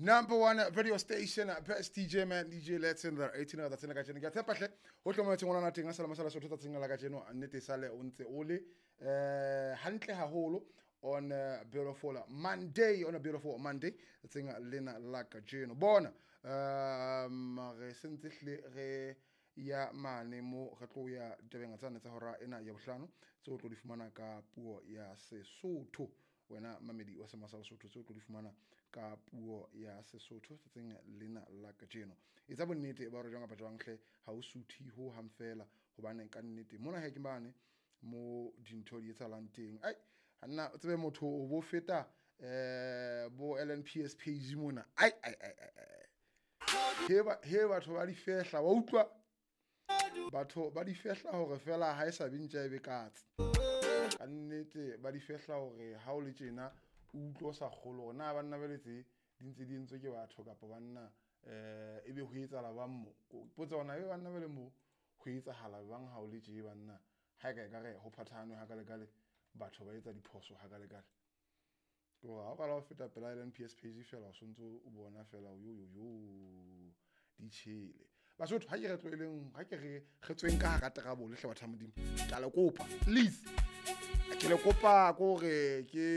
Number one radio station, best DJ man, DJ Let's in there. 18 tsatsing la kajeno. Ke a tshepa hle ho hlokometse ngwana teng a sala masala Sotho tsatsing la kajeno. Nnete sale o ntse o le hantle haholo on a beautiful Monday, on a beautiful Monday tsatsing lena la kajeno. Bona re sentse hle re ya mane mo re tlo ya ditabeng tsane tsa hora ena ya bohlano tseo o tlo di fumana ka puo ya Sesotho. Wena mamedi wa Sema sa Lesotho, tseo o tlo di fumana ka puo ya Sesotho tsatsing lena la kajeno. Etsa bonnete ba hore jwang kapa jwang hle ha o suthe ho hang fela, hobane ka nnete mona he ke mane mo dintho di etsahalang teng. Ai nna o tsebe motho o bo feta bo LNPS page mona. Ai ai ai ai. He batho ba di fehla, wa utlwa? Batho ba di fehla hore fela ha e sa bintja e be katse. Ka nnete ba di fehla hore ha o le tjena o utlwe o sa kgolwe hore na banna ba letse di ntse di entswe ke batho kapa banna ebe ho etsahala bang mo. Potsa hore na ebe banna ba le mo ho etsahala bang ha o le tje banna. Ha e ka ekare ho phathahanwe hakalekale, batho ba etsa diphoso hakalekale. Ke hore ha o qala ho feta pela LNPS page fela o sontso o bona fela yo yo yo di tjhele. Basotho ha ke re tlohelleng, ha ke re re tsweng ka hara trouble hle batho ba Modimo. Ke a le kopa please. Ke le kopa ko hore ke